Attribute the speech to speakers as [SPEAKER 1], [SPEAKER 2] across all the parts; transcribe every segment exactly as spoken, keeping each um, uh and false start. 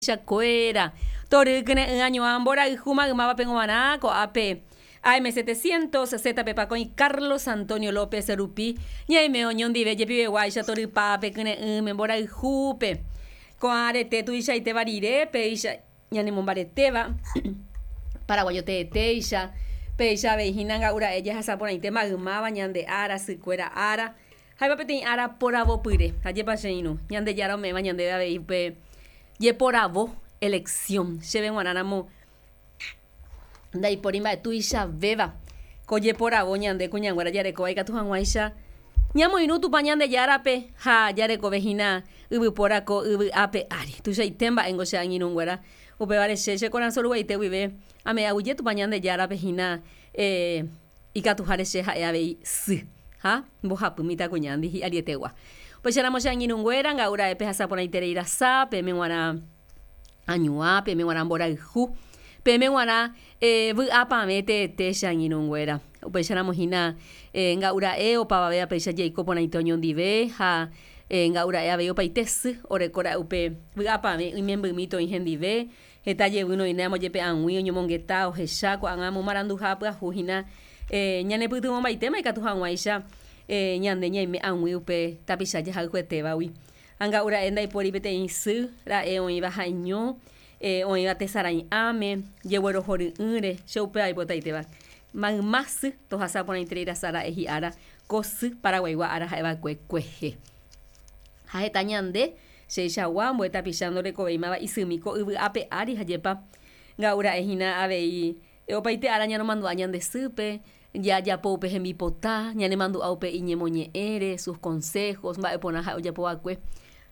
[SPEAKER 1] Chakuéra tory kyre'ỹ añuã mborayhu maymávape g̃uarã ko'ápe A M setecientos Z P pakõi Carlos Antonio López rupi ñaime oñondive jepiveguáicha torypápe kyre'ỹme mborayhúpe ko'ã arete tuichaitéva rire péicha ñanemombaretéva paraguayo teetéicha péicha avei hína nga'ura'e jahasa porãite maymáva ñande ára sykuéra ára ha'éva peteĩ ára poravopyre ajépa che irũ Ñandejára ome'ẽva ñandéve avei upe jeporavo elección chéve g̃uarãramo ndaipóri mba'e tuichavéva ko jeporavo ñande kuñanguéra jarekóva ikatu hag̃uáicha ñamoirũ Tupã Ñandejárape ha jarekove hína yvypóra ko yvy ápe ári tuichaite mba'éngo che angirũnguéra upévare che che korasõ ruguaite guive ame'ẽ aguyje Tupã Ñandejárape hína eh, ikatuháre che ha'e avei sy ha mbohapy mitãkuñándi hi'arietegua upéicharamo che angirũnguéra nga'ura'e pehasa porãiterei rasa peẽme g̃uarã añuã peẽme g̃uarã mborayhu peẽme g̃uarã eh, vy'apavẽ teete che angirũnguéra upéicharamo hína eh, nga'ura'e opavave péicha jaiko porãite oñondive ha eh, nga'ura'e avei opaite sy orekóra'e upe vy'apavẽ imembymi toĩ hendive heta jevy noĩne amojepe ag̃ui oñomongeta ohecha ko'ág̃a momaranduha pyahu hína eh, ñanepytyvõmbaitéma ikatu hag̃uáicha eh, ñande ñaime ag̃ui upe tapicha jahayhuetévagui ha nga'ura'e ndaipóri peteĩ sy ra'e oĩva ha'eño eh, oĩva tesarãi'ãme jeguerohory'ỹre che upéva aipotaitéva mayma sy tohasa porãiterei rasa ra'e hi'ára ko sy paraguaigua ára ha'eva'ekue kuehe ha heta ñande cheichagua ambue tapicha ndorekovéimava isymi ko yvy ápe ári hajépa nga'ura'e hína avei opaite ára ñaromandu'a ñande sýpe jajapo upe hembipota ñanemandu'a upe iñemoñe'ẽre sus consejos mba'e porã ha'e ojapova'ekue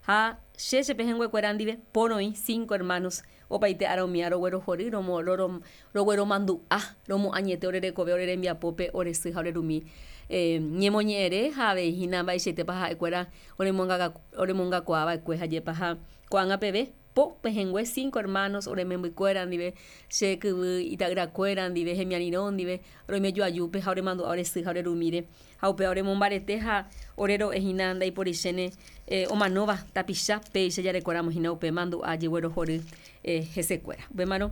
[SPEAKER 1] ha che chepehẽnguekuéra ndive poroĩ cinco hermanos opaite ára umíva roguerohory romo roro rogueromandu'a romoañete orerekove ore rembiapópe ore sy ha orerumi eh, ñemoñe'ẽre ha avei hína mba'eichaitépa ha'ekuéra oremongaka oremongakuaava'ekue hajépa ha ko'ág̃a peve po pehẽngue cinco hermanos oremembykuéra ndive che kyvy ita'yrakuéra ndive hemiarirõ ndive roime joajúpe ha oremandu'a ore sy ha orerumíre ha upéva oremombarete ha ore ro'e hína ndaiporichéne eh, omanóva tapicha péicha jarekóramo hína upe mandu'a jeguerohory eh, hesekuéra upémarõ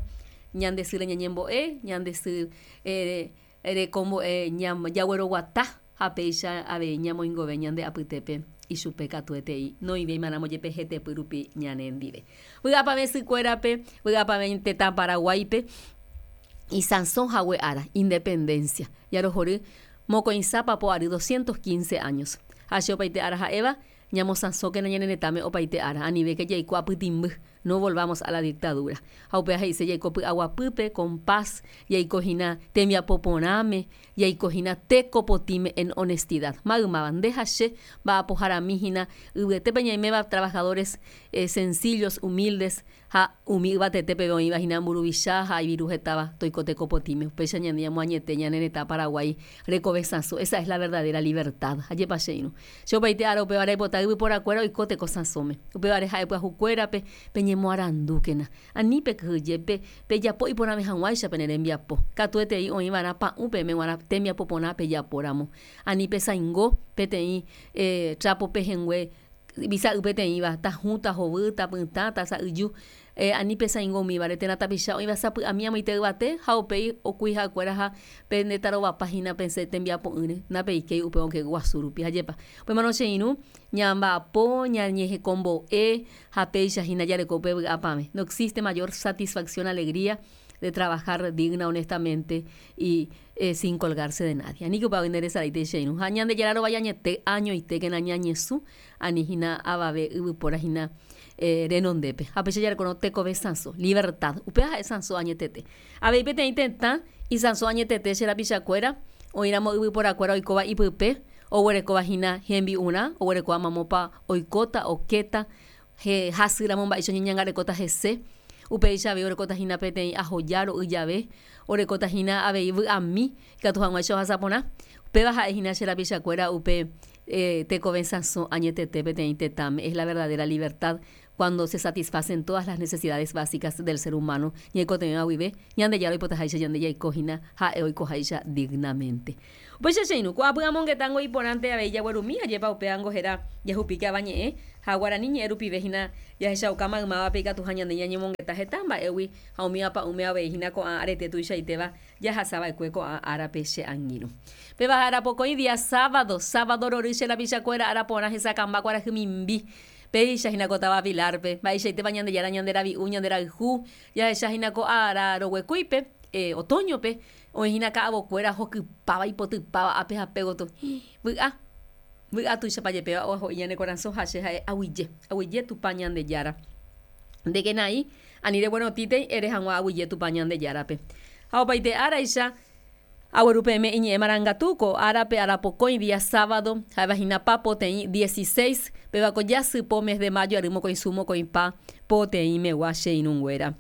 [SPEAKER 1] ñande sýre ñañembo'e ñande sy eh, rekombo'e ñam jagueroguata ha péicha avei ñamoingove ñande apytépe ichupe katuetei noivéimaramo jepe hetepy rupi ñane ndive vy'apavẽ sykuérape vy'apavẽ tetã Paraguáipe isãso hague ára independencia jarohory mokõisa papo ary doscientos quince años ha che opaite ára ha'éva ñamosãsókena ñane retãme opaite ára anivéke jaiko apytĩmby no volvamos a la dictadura ha upéva he'ise jaiko py'aguapýpe con paz jaiko hína tembiapo porãme jaiko hína tekopotĩme en honestidad maymáva nde ha che mba'apoharami hína yvyetépe ñaiméva trabajadores eh, sencillos humildes ha umi yvatetépe oĩva hína mburuvicha ha iviru hetáva toiko tekopotĩme upéicha ñande ñamoañete ñane retã Paraguái rekove sãso esa es la verdadera libertad ajépa che irũ che opaite ára upéva reipota yvyporakuéra oiko tekosãsóme upévare ha'e pyahukuérape peñemoarandúkena ani pekyhyje pejapo iporãve hag̃uáicha pene rembiapo katuetei oĩva'erã pa'ũ peẽme g̃uarã tembiapo porã pejapóramo ani pesãingo peteĩ eh, trapo pehẽngue visa'y peteĩva tahũ tahovy tapytã tasa'yju eh, ani pesãingo umívare térã tapicha oĩva sapy'ami amoite yvate ha upéi okuihakuéra ha pendetarovapa hína pense tembiapo'ỹre ndapeikéi upe okẽ guasu rupi ajépa upémarõ che irũ ñamba'apo ñañehekombo'e ha péicha hína jareko upe vy'apavẽ no existe mayor satisfacción alegría de trabajar digna honestamente y eh, sin colgarse de nadie aníke upéva nderesaraite che irũ ha Ñandejára rovajañete añoitékena ñañesũ ani hína avave yvypóra hína eh, renondépe ha péicha jarekórõ tekove sãso libertad upéva ha'e sãso añetete avei peteĩ tetã isãso añetete che rapichakuéra oĩramo yvyporakuéra oikóva ipype oguerekóva hína hembi'urã oguerekóva mamópa oikóta okéta he hasýramo mba'éicha oñeñangarekóta hese upéicha avei orekóta hína peteĩ ahoja ro'y jave orekóta hína avei vy'ami ikatu hag̃uáicha ohasa porã upéva ha'e hína che rapichakuéra upe eh, tekove sãso añetete peteĩ tetãme es la verdadera libertad Cuando se satisfacen todas las necesidades básicas del ser humano, ñaikotevẽva guive, Ñandejára oipotaháicha ñande jaikohína ha'e oikoháicha dignamente. Upéicha che irũ, ko'ápy amongetango iporãnte avei jaguerumi ajépa upévango héra jahupíke avañe'ẽ ha guarani ñe'ẽ rupive hína jahechauka maymávape ikatuha ñande ñañemongeta heta mba'égui ha umi apa'ũme avei hína ko'ã arete tuichaitéva jahasava'ekue ko'ã árape che angirũ. Péva ára pokõi día sábado, sábado rory che rapichakuéra ára porã hesakãmba kuarahy mimbi. Péicha hína ko táva Pilar-pe, mba'eichaitépa Ñandejára ñande ravi'u, ñande rayhu, jahecha hína ko ára roguekúipe, eh, otoño-pe, oĩ hína ka'avokuéra hokypáva, ipotypáva ápe ha pe gotyo. Vy'a, vy'a tuichapa jepéva oaho'i ñane korasõ ha che ha'e aguyje, aguyje Tupã Ñandejára. Ndekenai, ani reguerotĩtei ere hag̃ua aguyje Tupã Ñandejárape. Ha opaite áraicha, agueru peẽme iñe'ẽ marangatu ko árape ára pokõi día sábado, ha'éva hína pa poteĩ dieciséis, péva ko jasypo mes de mayo ary mokõisu mokõipa poteĩmegua che irũnguéra.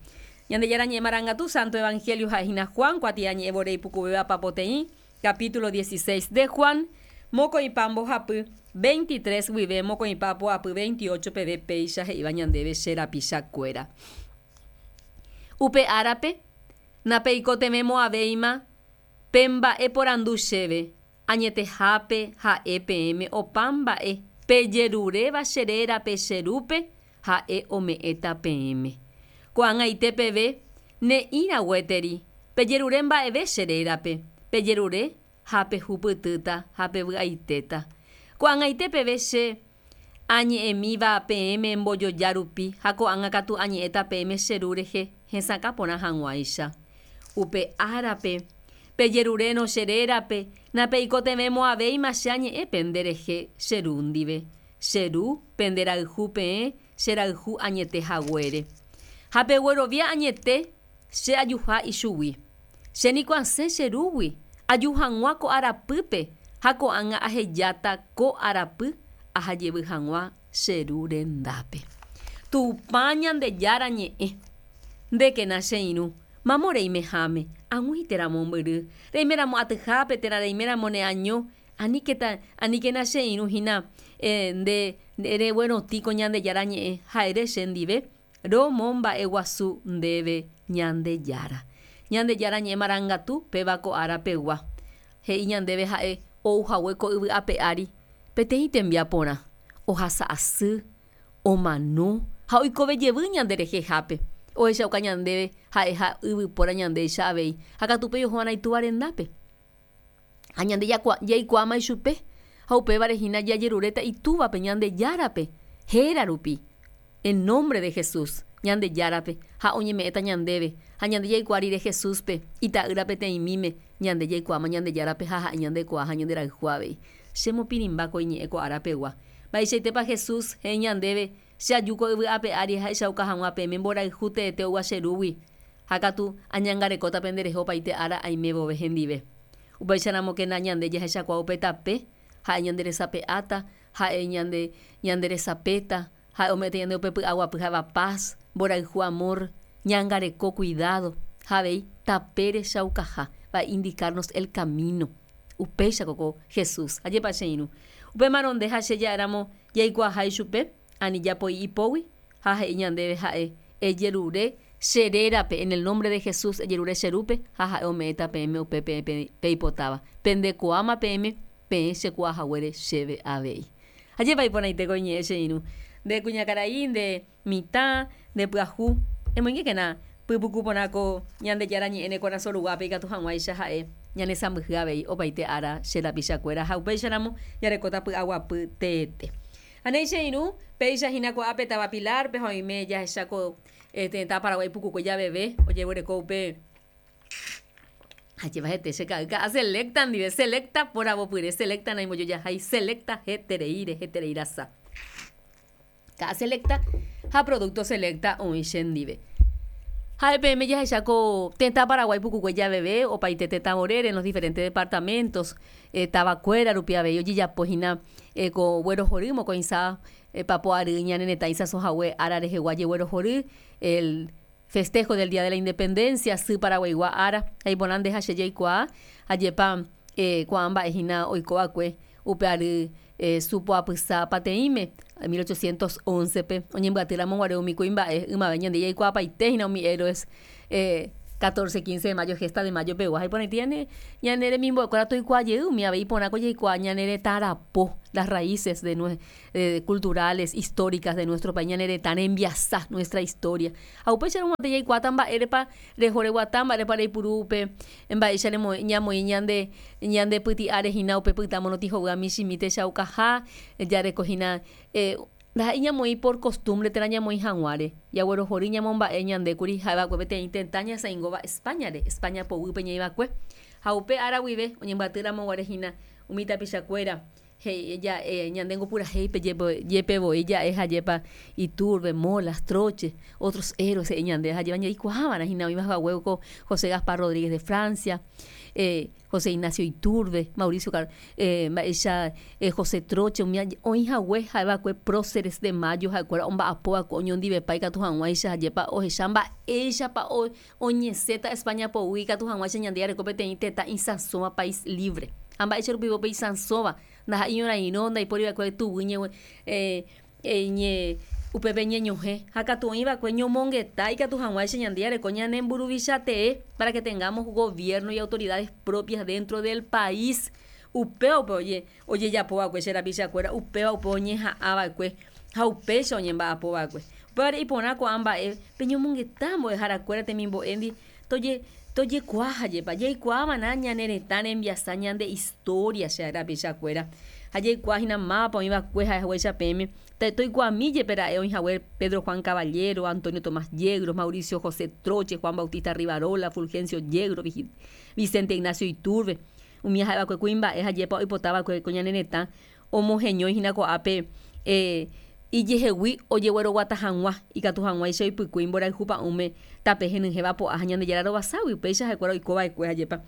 [SPEAKER 1] Ñandejára ñe'ẽ marangatu Santo Evangelio ha'e hína Juan kuatiañe'ẽ vore ipukuvéva pa poteĩ, capítulo dieciséis de Juan, mokõipa mbohapy, veintitrés guive mokõipa poapy veintiocho peve péicha he'íva ñandéve che rapichakuéra. Upe árape, napeikotevẽmo'ãvéima pe mba'e porandu chéve, añetehápe ha'e peẽme opa mba'e pejeruréva che rérape che Rúpe, ha'e ome'ẽta peẽme. Ko'ag̃aite peve ne'ĩra gueteri, pejerure mba'eve che rérape, pejerure ha pehupytýta ha pevy'aitéta. Ko'ag̃aite peve che añe'ẽmíva peẽme mbojoja rupi ha ko'ág̃a katu añe'ẽta peẽme che Ru rehe hesakã porã hag̃uáicha. Upe árape, pejerurérõ che rérape, napeikotevẽmo'ãvéima che añe'ẽ pende rehe che Ru ndive. Che Ru penderayhu peẽ che rayhu añete haguére. Ha peguerovia añete che ajuha ichugui. Che niko asẽ che Rúgui, aju hag̃ua ko arapýpe ha ko'ág̃a ahejáta ko arapy ahajevy hag̃ua che Ru rendápe. Tupã Ñandejára ñe'ẽ. Ndékena che irũ, mamo reimeháme, ag̃ui térã mombyry, reiméramo atyhápe térã reiméramo neaño, aníketa, aníkena che irũ hína, eh, nde reguerotĩ ko Ñandejára ñe'ẽ ha ere che ndive, romomba'eguasu ndéve Ñandejára. Ñandejára ñe'ẽ marangatu péva ko ára pegua. He'i ñandéve ha'e ou hague ko yvy ape ári peteĩ tembiaporã, ohasa asy, omano ha oikove jevy ñande rehehápe. Ohechauka ñandéve ha'eha yvypóra ñandéicha avei, ha katu upéi oho'arã itúva rendápe. Ha ñande jaikuaáma ichupe, ha upévare hína jajeruréta itúvape Ñandejárape, héra rupi, en nombre de Jesús, Ñandejárape, ha oñeme'ẽta ñandéve. Ha ñande jaikuaa rire Jesúspe, ita'ýra peteĩmíme, ñande jaikuaáma Ñandejárape ha ha'e ñandekuaa ha ñanderayhu avei. Che mopirĩmba ko iñe'ẽ ko ára pegua. Mba'eichaitépa Jesús he'i ñandéve, che aju ko yvy ape ári ahechauka hag̃ua peẽme mborayhu teete oúva che Rúgui, ha katu añangarekóta penderehe opaite ára aime vove hendive. Upéicharamokena ñande jahechakuaa upe tape, ha'e ñanderesape'áta, ha'e ñande ñanderesapéta, ha'e ome'ẽta ñande upe py'aguapy ha'éva paz, mborayhu amor, ñangareko cuidado, ha avei tape rechaukaha, va indicarnos el camino. Upéicha ko Jesús. Ajépa che irũ. Upémarõ nde ha che ja'éramo jaikuaaha ichupe, ani japoi ipógui ha he'i ñandéve ha'e ejerure che rérape, en el nombre de Jesús ejerure che Rúpe ha ha'e ome'ẽta peẽme upe peẽ peipotáva. Pendekuaáma peẽme peẽ chekuaahaguére chéve avei. Ajépa iporãite ko iñe'ẽ che irũ. Nde kuñakarai, nde mitã, nde pyahu, emoingékena pypuku porã ko Ñandejára ñe'ẽ ne korasõ ruguápe ikatu hag̃uáicha ha'e ñanesãmbyhy avei opaite ára che rapichakuéra ha upéicharamo jarekóta py'aguapy teete. Ha néi che irũ, péicha hína ko'ápe táva Pilar-pe ha oime jahecha ko tetã Paraguái pukukue javeve ojeguereko upe ajépa hete che ka'y ka'a Selecta ndive, Selecta poravopyre, Selecta naimbojojahái, Selecta hetereíre, heterei rasa. Ka'a Selecta ha producto Selecta oĩ chendive. Ha'e peẽme jahecha ko tetã Paraguái pukukue javeve opaite tetã vorére en los diferentes departamentos, eh, tavakuéra rupi avei ojejapo hína eh, ko guerohory mokõisa eh, papo ary ñane retã isãso hague ára rehegua jeguerohory, el festejo del Día de la Independencia, sy Paraguaigua ára, ha iporã nde ha che jaikuaa, ajépa eh, ko'ã mba'e hína oiko va'ekue upe ary eh, supoapysa pateĩme mil ochocientos once-pe oñembyatýramo guare umi kuimba'e ymave ñande jaikuaapaite umi héroes eh, catorce, quince de mayo, gesta de mayo pegua iporãite ñane ñane remimbo'ekuéra toikuaajey umi avei iporãko jaikuaa ñane retã rapo las raíces de nue, eh, culturales, históricas de nuestro país, ñane retã rembiasa nuestra historia. Ha upéicharõ mante jaikuaáta mba'érepa reho reguata, mba'érepa reipuru upe mba'éicha remo ñamoĩ ñande ñande pyti'áre hína upe pytã morotĩ hovýva michĩmi techaukaha jareko hína eh, ndaha'éi ñamoĩ por costumbre térã ñamoĩ hag̃uáre jaguerohory ñamomba'e ñandékuri ha'eva'ekue peteĩ tetã ñasãingóva España-re, España poguýpe ñaiva'ekue ha upe ára guive oñembyatýramo guare hína umi tapichakuéra he'i ja'e ñande ngopurahéipe jepevoi ja'e hajépa Iturbe, Molas, Troche, otros héroes he'i ñande hajéva jaikuaava'erã hína oĩva haguéko José Gaspar Rodríguez de Francia, eh, José Ignacio Iturbe, Mauricio Car eh, mba'éicha eh, José Troche umi oĩ hague ha'eva'ekue próceres de mayo ha'ekuéra omba'apóva'ekue oñondivepa ikatu hag̃uáicha hajépa ohecha mba'éichapa oñesẽta España poguy ikatu hag̃uáicha ñande jareko peteĩ tetã isãsóva país libre ha mba'éicha rupive upe isãsóva ndaha'éi ñorairõ ndaipóriva'ekue tuguy ñe eh, eh, ñe upépe ñeñohẽ ha katu oĩva'ekue ñomongeta ikatu hag̃uáicha ñande jareko ñane mburuvicha tee para que tengamos gobierno y autoridades propias dentro del país upéva upe oje ojejapova'ekue che rapichakuéra upéva upe oñeha'ãva'ekue ha upéicha oñemba'apova'ekue upévare iporã ko'ã mba'e peñomongeta mbo'eharakuéra temimbo'éndi toje tojekuaa hajépa jaikuaava'erã ñane retã rembiasa ñande historia che rapichakuéra ha jaikuaa hína mávapa oĩva'ekue ha'ehaguéicha peẽme toikuaami jepe ra'e oĩhague Pedro Juan Caballero, Antonio Tomás Yegros, Mauricio José Troche, Juan Bautista Rivarola, Fulgencio Yegros, Vicente Ignacio Iturbe umi ha'eva'ekue kuimba'e hajépa oipotava'ekue ko ñane retã omoheñói hína ko'ápe eh, ijehegui ojegueroguata hag̃ua ikatu hag̃uáicha oipykúi mborayhu pa'ũme tape henyhẽva po'a ha Ñandejára rovaságui upéicha ha'ekuéra oikova'ekue hajépa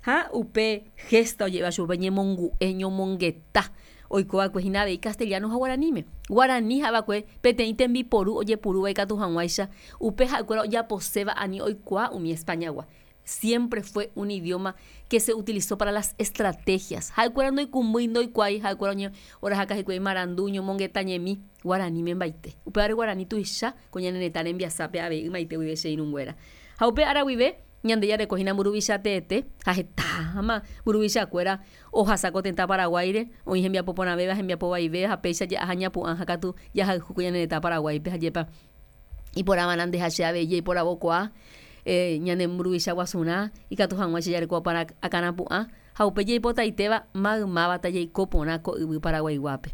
[SPEAKER 1] ha upe gesta oje'éva chupe ñemongu'e ñomongeta oikova'ekue hína avei castellano ha guaraníme guarani ha'eva'ekue peteĩ tembiporu ojepurúva ikatu hag̃uáicha upe ha'ekuéra ojaposéva ani oikuaa umi Españagua siempre fue un idioma que se utilizó para las estrategias ha'ekuéra ndoikũmbýi ndoikuaái ha'ekuéra oñe orahaka hikuái marandu ñomongeta ñemi guaraníme mbaite upévare guarani tuicha ko ñane retã rembiasápe avei ymaite guive che irũnguéra ha upe ára guive ñande jareko hína mburuvicha teete ha hetáma mburuvichakuéra ohasa ko tetã Paraguáire oĩ hembiapo porãvéva hembiapo vaivéva ha péicha ja'aha ñapu'ã ha katu jahayhu ko ñane retã Paraguáipe hajépa iporãva'erã ndeha che avei jaiporavokuaa eh, ñane mburuvicha guasurã ikatu hag̃uáicha jareko para akãrapu'ã ha upe jaipotaitéva maymávata jaiko porã ko yvy Paraguaiguápe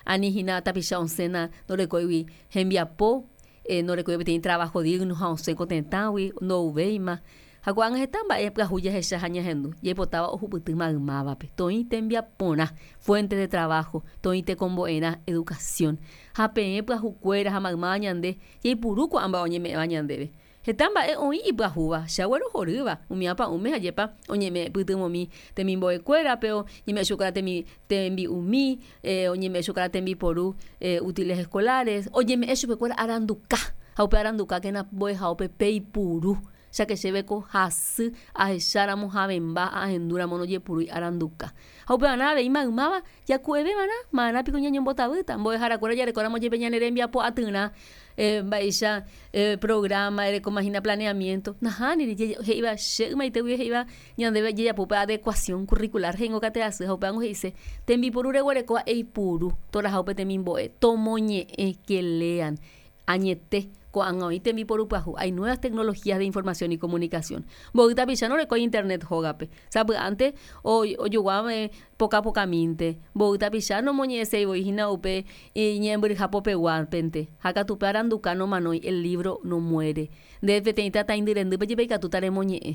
[SPEAKER 1] ani hína tapicha osẽna ndorekóigui hembiapo eh, ndorekói peteĩ trabajo digno ha osẽ ko tetãgui ndouvéima ha ko'ág̃a heta mba'e pyahu jahecha ha ñahendu jaipotáva ohupyty maymávape toĩ tembiaporã fuente de trabajo toĩ tekombo'erã educación ha peẽ pyahukuéra ha maymáva ñande jaipuru ko'ã mba'e oñeme'ẽva ñandéve heta mba'e oĩ ipyahúva che aguerohorýva umi apa'ũme hajépa oñeme'ẽ pytyvõmi temimbo'ekuérape oñeme'ẽ chupekuéra temi tembi'umi eh, oñeme'ẽ chupekuéra tembiporu eh, útiles escolares oñeme'ẽ chupekuéra aranduka ha upe arandukákena mbo'ehaópe peipuru cháke chéveko hasy ahecháramo havẽmba ahendúramo ndojepurúi aranduka ha upevarã avei maymáva jaku'eveva'erã ma'erã piko ñañombotavýta mbo'eharakuéra jarekóramo jepe ñane rembiapo atyrã eh, mba'éicha eh, programa erekóma hína planeamiento nahániri he'íva che ymaite guive he'íva ñandéve jajapo upe adecuación curricular he'ingo kate asy ha upévango he'ise tembiporu reguerekóva eipuru toraha upe temimbo'e tomoñe'ẽ que lean añete ko'ág̃a oĩ tembiporu pyahu hay nuevas tecnologías de información y comunicación mboy tapicha norekói internet hógape sapy'ánte ojoguáme poka pokamínte mboy tapicha nomoñe'ẽseivoi hína upe iñe'ẽmbyryha popeguápente ha katu upe aranduka nomanói el libro no muere nde peteĩ tataindy rendýpe jepe ikatúta remoñe'ẽ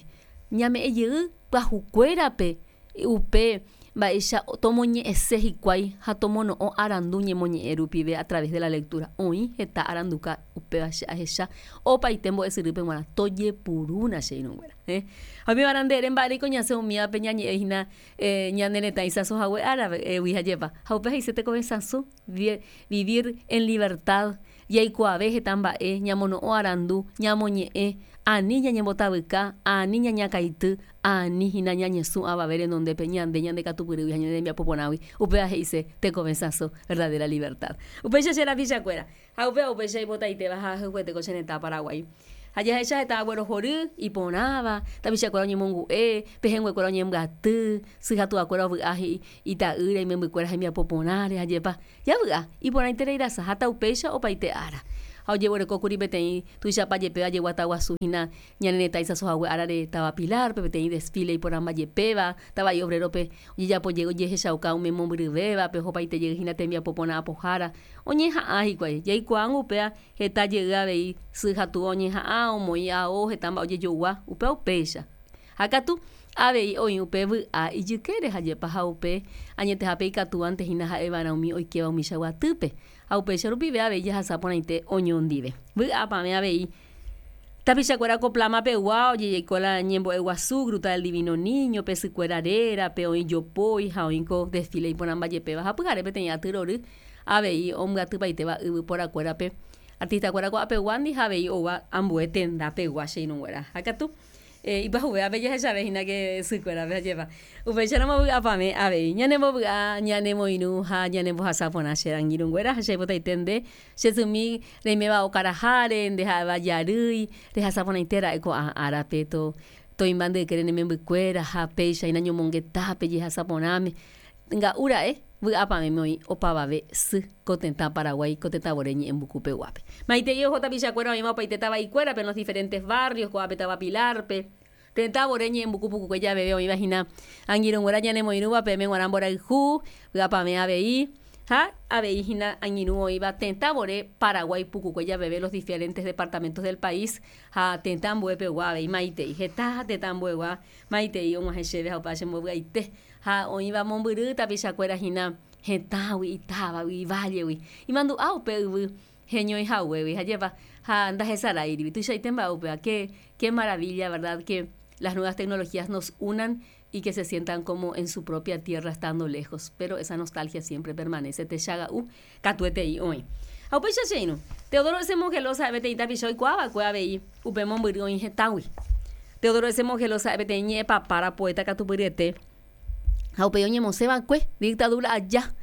[SPEAKER 1] ñame'ẽ jey pyahukuérape upe mba'éicha tomoñe'ẽse hikuái ha tomono'õ arandu ñemoñe'ẽ rupive a través de la lectura oĩ heta aranduka upéva che ahecha opaite mbo'esyrýpe g̃uarã tojepurúna che irũnguéra eh ha upevarã nde mba'éreiko ñasẽ umívape ñañe'ẽ hína eh, ñane retã isãso hague árape hajépa ha upe he'ise tekove sãso vivir en libertad Jaikuaave heta mba'e, ñamono'õ arandu, ñamoñe'ẽ, ani ñañembotavyka, ani ñañakãity, ani hína ñañesũ avave renondépe ñande ñandekatupyrýgui ha ñane rembiapo porãgui. Upéva he'ise tekove sãso, verdadera libertad. Upéicha che rapichakuéra ha upéva upéicha ipotaitéva ha ahayhuete ko che retã Paraguái. Ha jahecha heta aguerohory, iporãva, tapichakuéra oñemongu'e, pehẽnguekuéra oñembyaty, sy ha tuakuéra ovy'a he'i ita'ýra, imembykuéra hembiapo porãre, ajépa javy'a, iporãiterei rasa ha taupéicha opaite ára. Ha ojeguerekókuri peteĩ tuichapa jepéva jeguata guasu hína ñane retã isãsohague árare táva Pilar-pe, peteĩ desfile iporãmba jepéva, tava'i Obrero-pe ojejapo jey ojehechauka umi mombyryvévape, ohopaite jey hína tembiapo porã apohára. Oñeha'ã hikuái, jaikuaángo upéva heta jey avei sy ha túva oñeha'ã, omoĩ ao, heta mba'e ojejogua, upéva upéicha. Ha katu avei oĩ upe vy'a ijykére ha jepa ha upe añetehápe ikatúvante hína ha'eva'erã umi oikéva umíchagua atýpe. Ha upéicha rupive avei jahasa porãite oñondive. Vy'apavẽ avei tapichakuéra ko Plama-pegua ojejaiko la ñembo'e guasu, Gruta del Divino Niño, pe sykuéra rérape, oĩ jopói ha oĩ ko desfile iporãmba jepéva ha pyhare peteĩ aty rory avei ombyatypaitéva yvyporakuérape artista-kuéra ko'apeguándi ha avei oúva ambue tendapegua che irũnguéra. Ha katu ipyahuvévape jahechave hína ke sykuérape ajépa. Upéicharamo vy'apavẽ avei ñanembovy'a, ñanemoirũ ha ñanembohasa porã che angirũnguéra ha che aipotaite nde che symi reiméva okaraháre, nde ha'éva jarýi, rehasa porãite ra'e ko'ã árape to toĩmba nde ykére ne membykuéra ha péicha hína ñomongetápe jehasa porãme. Nga'u ra'e vy'apavẽme oĩ opavave sy ko tetã Paraguái ko tetãvore ñe'ẽmbukupeguápe. Maitei oho tapichakuéra oĩva opaite tava'ikuérape en los diferentes barrios, ko'ápe táva Pilar-pe, tetãvore ñe'ẽmbuku pukukue javeve oĩva hína angirũnguéra ñanemoirũva peẽme g̃uarã mborayhu, vy'apavẽ avei ha avei hína angirũ oĩva tetãvore Paraguái pukukue javeve los diferentes departamentos del país ha tetã ambuepegua avei maitei. Heta tetã ambuegua maitei og̃uahẽ chéve ha opa chembovy'aite ha oĩva mombyry tapichakuéra hína hetãgui, itávagui, ivállegui. Imandu'a upe yvy heñoihaguégui ha jepa ha ndahesaráirivi. Tuichaite mba'e upéva. Qué, qué maravilla, verdad, que las nuevas tecnologías nos unan y que se sientan como en su propia tierra estando lejos, pero esa nostalgia siempre permanece. Techaga'u katuetei oĩ. Ha upéicha che irũ, Teodoro S. Mongelós ha'e peteĩ tapicha oikuaava'ekue avei upe mombyry oĩ hetãgui. Teodoro S. Mongelós ha'e peteĩ ñe'ẽpapára poeta katupyryete ha upéi oñemosẽva'ekue dictadura aja,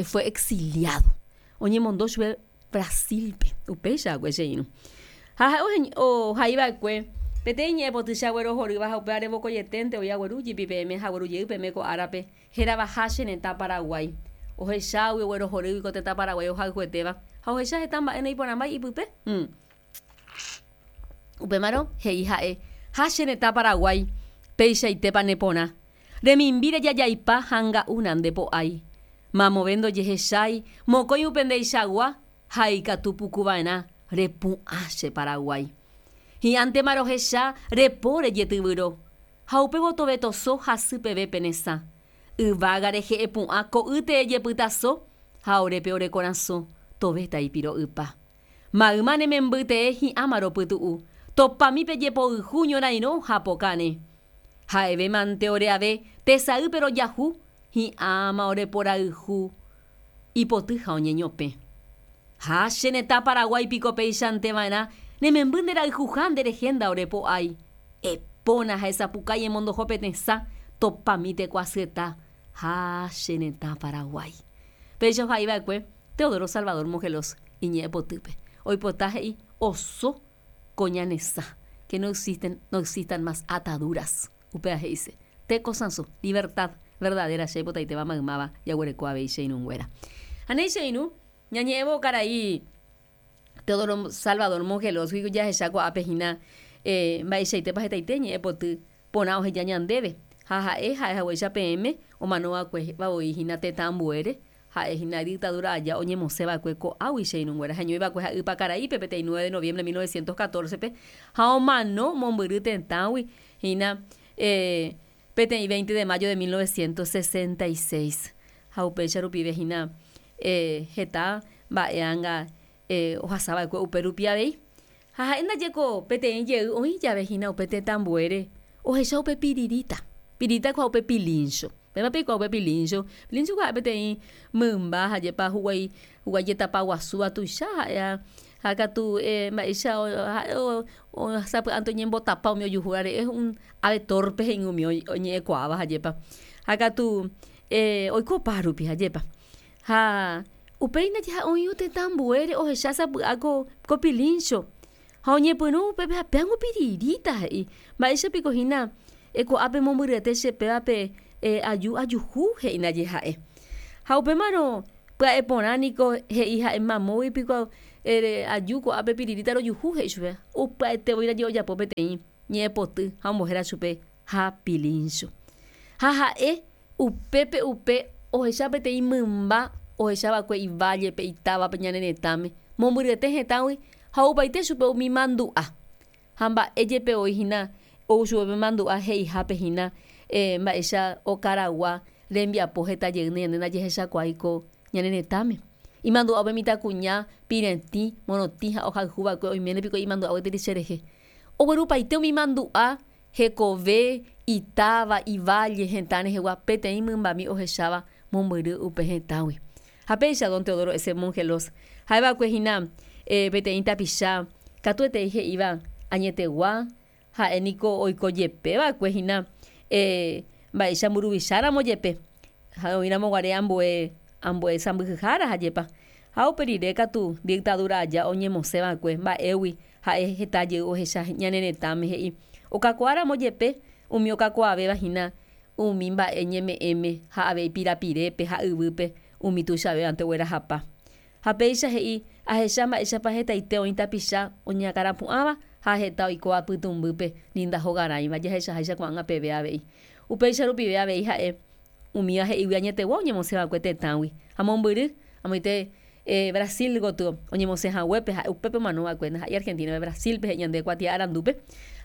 [SPEAKER 1] fue exiliado. Oñemondo chupe Brasil-pe, upéicha va'ekue che irũ. Ha ha'e ohaiva'ekue peteĩ ñe'ẽpoty che aguerohorýva ha upévare vokoieténte oĩ agueru jepi peẽme ha agueru jey peẽme ko árape hérava ha che retã Paraguái. Ohechágui oguerohorýgui ko tetã Paraguái ohayhuetéva ha ohecha heta mba'e naiporãmbái ipype. Upémarõ he'i ha'e, Ha che retã Paraguái, peichaitépa neporã. Remimbi rejajaipa ha nga'u nande po'ái. Mamove ndojehechái, mokõi upe ndeichagua ha ikatu puku va'erã repu'ã che Paraguái. Hi'ãntema rohecha repo rejetyvyro, ha upévo tovetoso hasy peve pe ne sã. Yvága rehe epu'ã ko'ýte ejepytaso ha orépe ore korasõ tovéta ipiro'ypa. Mayma ne memby tee hi'ãma ropytu'u, topami pe jepoyhu ñorairõ ha pokãre. Ha'eve mante ore ave tesaýpe rojahu, hi'ãma ore porayhu ipoty ha oñeñopẽ. Ha che retã Paraguái piko péichante va'erã ne memby nde rayhuha nde rehe nda ore po'ái. Epóna ha esapukái emondoho pe tesã topami teko asyeta ha che retã Paraguái. Péicha ohai va'ekue Teodoro Salvador Mongelós iñe'ẽpotýpe. Oipota he'i oso ko ñane sã, que no existen, no existan más ataduras. Upéva he'ise, teko sãso, libertad verdadera che aipotaitéva maymáva jaguereko avei che irũnguéra. Ha néi che irũ, ñañe'ẽvo karai Teodoro Salvador Mongelós-gui jahecha ko'ápe hína mba'eichaitépa hetaite ñe'ẽpoty porã oheja ñandéve. Ha ha'e ha'e haguéicha peẽme omanova'ekue voi hína tetã ambuére, ha'e hína dictadura aja oñemosẽva'ekue ko'águi che irũnguéra. Heñoiva'ekue ha'e Ypakaraípe peteĩ nueve de noviembre de mil novecientos catorce-pe ha omano mombyry tetãgui hína peteĩ veinte de mayo de mil novecientos sesenta y seis. Ha upéicha rupive hína heta mba'e anga ohasava'ekue upe rupi avei. Ha ha'e ndajeko peteĩ jey oĩ jave hína upe tetã ambuére ohecha upe piriríta. Piririta kua upe pilincho. Péva peikuaa upe pilincho. Pilincho kua ha'e peteĩ mymba ha jepa huguái huguái jetapa guasúva tuicha ha'e Ha katu eh, mba'éicha sapy'ánte oñembotapa umi ojuhúvare es un ave torpe he'i umi oñe'ẽkuaáva hajépa. Ha katu eh, oikopa rupi hajépa. Ha upéi ndaje ha oĩ tetã ambuére ohecha sapy'a ko, ko pilincho ha oñepyrũ upépe ha péango piriríta he'i mba'éichapiko hína ko'ápe mombyryete che pévape eh, aju ajuhu he'i ndaje ha'e. Ha upémarõ pya'e porã niko he'i ha'e mamógui piko eh, aju ko'ápe piriríta rojuhu he'i chupe upya'etevoi ndaje ojapo peteĩ ñe'ẽpoty ha ombohéra chupe ha pilincho. Ha ha'e upépe upe ohecha peteĩ mymba ohechava'ekue ivállepe itávape ñane retãme mombyryete hetãgui ha opaite chupe umi mandu'a ha mba'e jepe oĩhína ou chupe mandu'a he'ihápe hína eh, mba'éicha okaragua rembiapo heta jeýne ñande ndajahechakuaái ko ñane retãme. Imandu'a upe mitãkuña piretĩ morotĩ ha ohayhuva'ekue oiméne piko imandu'a gueteri cherehe. Oguerupaite umi mandu'a hekove itáva iválle hetã rehegua peteĩ mymbami ohecháva mombyry upe hetãgui. Ha péicha don Teodoro S. Mongelós ha'eva'ekue hína eh, peteĩ tapicha katuetei he'íva añetegua ha'e niko oikojepeva'ekue hína eh, mba'éicha mburuvicháramo jepe ha oĩramoguare ambue ambue sãmbyhyhára hajépa. Ha upe rire katu dictadura aja oñemosẽva'ekue mba'égui ha'e heta jey ohecha ñane retãme he'i okakuaáramo jepe umi okakuaavéva hína umi mba'e ñeme'ẽme ha avei pirapirépe ha yvýpe umi tuichavévante oguerahapa. Ha péicha he'i ahecha mba'éichapa hetaite oĩ tapicha oñakãrapu'ãva ha heta oikóva pytũmbýpe ni ndahogarãiva jahechaháicha ko'ág̃a peve avei. Upéicha rupive avei ha'e umíva he'ígui añetegua oñemosẽva'ekue tetãgui ha mombyry amoite eh, Brasil gotyo oñemosẽhaguépe ha'e upépe omanova'ekue ndaha'éi Argentina Brasilpe he'i ñande kuatia arandúpe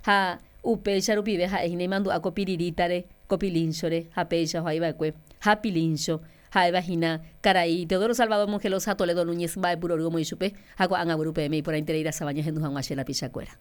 [SPEAKER 1] ha upéicha rupive ha'e hína imandu'a ko pirirítare ko pilinchore ha péicha ohaiva'ekue ha pilincho ha'éva hína karai Teodoro Salvador Mongelós ha Toledo Núñez mba'epurory omoĩ chupe ha ko'ág̃a guyru peẽme iporãiterei rasava ñahendu hag̃ua che rapichakuéra.